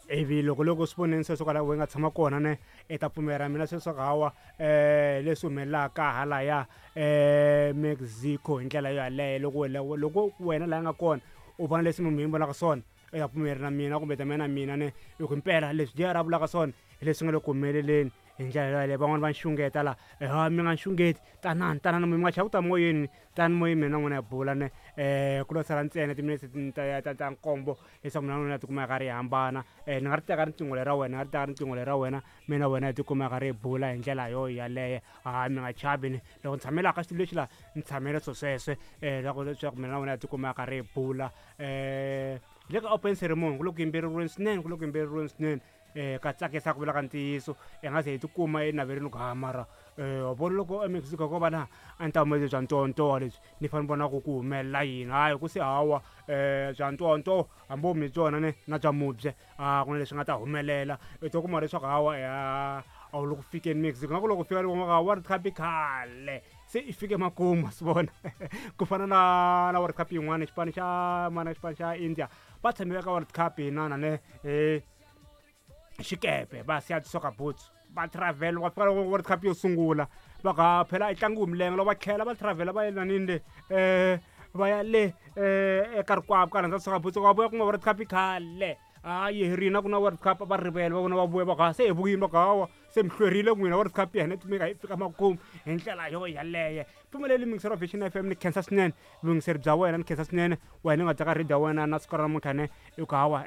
Ivi loko loko swi voneni sweswo kwala we nga tshama kona ne i ta pfumela mina sweswo ku hawa leswi humelelaka halaya Mexico hi ndlela yo yaleyo loko wena loko wena laha nga kona u vona leswi munhu yi vonaka swona i ta pfumela na mina kumbe ta mina na mina ne hi ku impela leswi JR a vulaka swona hi leswi nga le ku humeleleni hi ndlela yaleyo. Van'wani va xungeta la ha mi nga xungeti tanani tanani mi nga chavi ku ta moyeni tani moyeni mina na n'wina hi bula ne ku lo sala ntsena timinetse ta ta ta nkombo leswaku mina na n'wina hi tikuma hi karhi hi hambana. Ni nga ri teka riqingho leri ra wena ni nga ri teka riqingho leri ra wena mina na wena hi tikuma hi karhi hi bula hi ndlela yo yaleyo. Hayi mi nga chavi ni loko ni tshame laha ka xitulu lexi la ni tshamele swo sweswe loko leswaku mina na wena hi tikuma hi karhi hi bula. Hi le ka open ceremony ku le ku yimbeleriweni swinene ku le ku yimbeleriweni swinene ka tsakisa ku vula ka ntiyiso hi nga ze hi tikuma enaveleni ku ha mara wa vona loko eMexico ko va na a ni ta humeleli bya ntowantowa lebyi ni fanele ni vona ku ku humelela yini hayi ku se hawa bya ntowantowa hambi wo mi byona ne na bya mubye a ku na leswi nga ta humelela i to kuma leswaku hawa a wu le ku fikeni Mexico nga ku loko fika loko World Cup i khale se i fike makumu wa swi vona ku fana na na World Cup yin'wana xipano xa mana xipano xa India va tshame ka World Cup inana ne xikepe va siya ti-soccer boots va travel va fika loko World Cup yo sungula va ku ha phela a yi tlangiwi hi milenge loko va tlhela va travel va ya nanini le va ya le eka rikwavo ka rhandza soccer boots va vuya ku nga World Cup i khale hayi hi rini a ku na World Cup va rivele va vona va vuya va ku ha se hi vuyile va ku hawa se mi hlwerile n'wina World Cup ya hina yi yi fika makumu hi ndlela yo yaleyo. Pfumeleli muyingiseri wa Vision F_M ni khensa swinene vuyingiseri bya wena ni khensa swinene wena u nga teka radio ya wena na siku ra namuntlha ne i ku hawa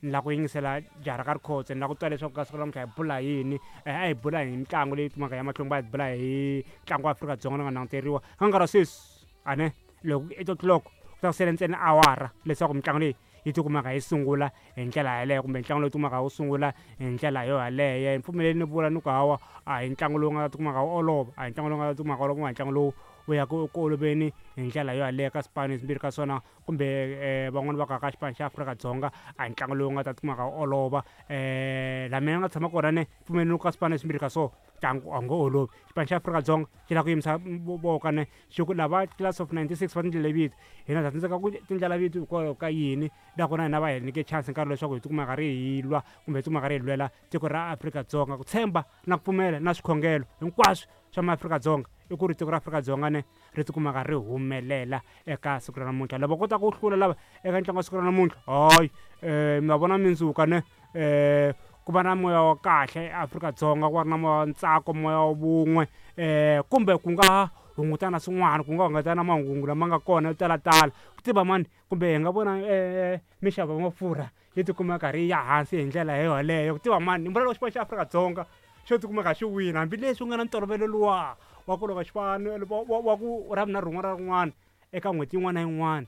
ni lava ku yingisela jaha ra ka Rikhotso ni lava ku twa leswaku ka siku ra namuntlha hi bula hi yini a hi bula hi mitlangu leyi kumaka ya mahlweni va hi bula hi ntlangu wa Afrika-Dzonga lowu nga languteriwa ka nkarhi wa sweswi a ne loko 8 o'clock ku ta ku sele ntsena awara leswaku mitlangu leyi yi tikumaka yi sungula hi ndlela yaleyo kumbe ntlangu lowu tikumaka wu sungula hi ndlela yo yaleyo ni pfumeleli ni vula ni ku hawa a hi ntlangu lowu nga ta tikumaka wu olova a hi ntlangu lowu nga ta tikumaka olova hi ntlangu lowu wu ya ku ku oloveni hi ndlela yo yaleyo ka swipano leswimbirhi ka swona kumbe van'wani va ka ka xipano xa Afrika-Dzonga a hi ntlangu lowu nga ta tikumaka wu olova laha mina ni nga tshama kona ne pfumeleli ka swipano leswimbirhi ka swona ntlangu a wu nge olovi. Xipano xa Afrika-Dzonga xi lava ku yimisa voka ne xi ku lava class of 96 va tindlela vito hina ha tsandzeka ku tindlela vito hikwalaho ka yini nakona hina va hi nyike chance nkarhi leswaku hi tikuma karhi hi lwa kumbe hi tikuma karhi hi lwela tiko ra Afrika-Dzonga ku tshemba na ku pfumela na swikhongelo hinkwaswo swa maAfrika-Dzonga i ku ri tiko ra Afrika-Dzonga ne ri tikumaka ri humelela eka siku ra namuntlha lava kotaka ku hlula lava eka ntlangu wa siku ra namuntlha hayi mi va vona mindzuka ne ku va na moya wa kahle eAfrika-Dzonga ku va ri na moya wa ntsako moya wa vun'we kumbe ku nga hungutana swin'wana ku nga hungutana na mahungu lama nga kona yo talatala ku tiva mani kumbe hi nga vona minxavo ya mafurha yi tikuma yi karhi yi ya hansi hi ndlela yoyaleyo ku tiva mani ni vula loko xipano xa Afrika-Dzonga xo tikumeka xi wina hambileswi ku nga na ntolovelo luwa wa ku loko xipano wa ku ra vunharhu rin'wana na rin'wana eka n'hweti yin'wana na yin'wana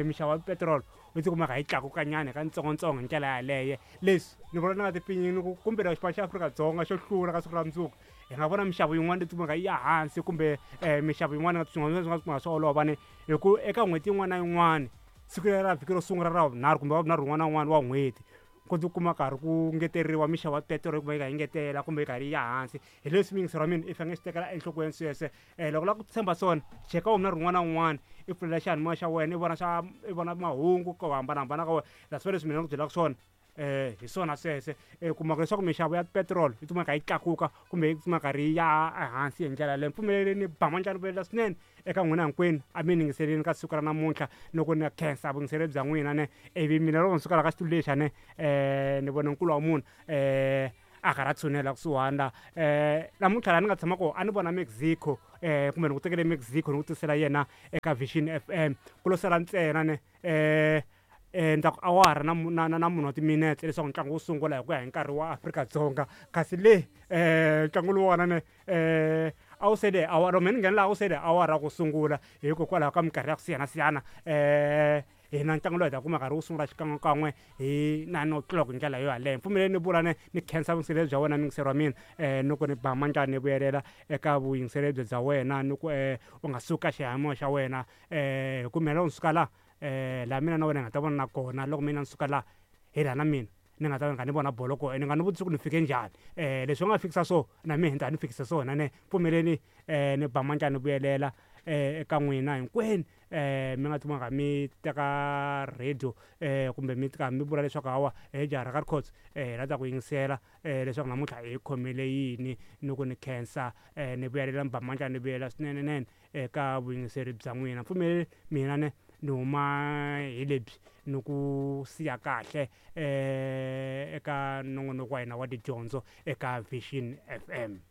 minxavo ya petiroli yi tikumeka yi tlakuka nyana hi katsongotsongo hi ndlela yaleyo. Leswi ni vona ni nga tipfinyingi ku kumbe loko xipano xa Afrika-Dzonga xo hlula ka siku ra mundzuku hi nga vona minxavo yin'wana leyi tikumeka yi ya hansi kumbe minxavo yin'wana swin'wana swi nga kumeka swi olova ni hi ku eka n'hweti yin'wana na yin'wana siku leri ra vhiki ro sungula ra vunharhu kumbe wa vunharhu wun'wana na wun'wana wa n'hweti ku tikuma karhi ku ngeteriwa minxavo ya petiroli yi kuma yi kha yi ngetela kumbe yi karhi yi ya hansi hi leswi muyingiseri wa mina i fanele swi tekela enhlokweni sweswe loko u lava ku tshemba swona cheka wunharhu wun'wana na wun'wana i pfulela xiyanimoya xa wena i vona swa i vona mahungu ku hambanahambana ka wena that's why leswi mina ni ku byelaka swona hi swona sweswe u kumaka leswaku minxavo ya petiroli yi tikuma yi kha yi tlakuka kumbe yi tikuma yi karhi yi ya ehansi hi ndlela yaleyo pfumeleleni ba mandla ni vuyelela swinene eka n'wina hinkwenu a mi yingiseleni ka siku ra namuntlha loko ni khensa vuyingiseri bya n'wina ne ivi mina loko ni suka la ka xitulu lexi ne ni vona nkulu wa munhu a karhi a tshunela kusuhani la namuntlha laha ni nga tshama kona a ni vona Mexico kumbe ni ku tekele Mexico ni ku tisela yena eka Vision F_M ku lo sala ntsena ne ni ta ku awara na na na na munhu wa timinetse leswaku ntlangu wu sungula hi ku ya hi nkarhi wa Afrika-Dzonga kasi le ntlangu lowuwani ne a wu sele awara mehe ni nghena laha a wu sele awara ku sungula hikokwalaho ka minkarhi ya ku siyanasiyana hina ntlangu lowu hi ta kuma karhi wu sungula xikan'wekan'we hi 9 o'clock hi ndlela yo yaleyo mpfumeleli ni vula ne ni khensa vuyingiseri bya wena muyingiseri wa mina ni ku ni ba mandla ni vuyelela eka vuyingiseri bya wena ni ku u nga suki ka xiyanimoya xa wena hi ku mina loko ni suka la laha mina na wena hi nga ta vona kona loko mina ni suka la hi laha na mina ni nga ta va ni kha ni vona bolo kona ni nga ni vutisi ku ni fike njhani leswi u nga fikisa so na mina ni ta ni fikisa swona ne pfumeleni ni ba mandla ni vuyelela. eka n'wina hinkwenu mi nga tikuma mi teka radio kumbe mi tika mi vula leswaku hawa he jaha ra ka Rikhotso hi la ta ku yingisela leswaku namuntlha hi khomele yini. Ni ku ni khensa ni vuyelela ni ba mandla ni vuyela swinenenene eka vuyingiseri bya n'wina. Pfumeleli mina ne ni huma hi lebyi ni ku siya kahle eka nongonoko wa hina wa tidyondzo eka Vision FM.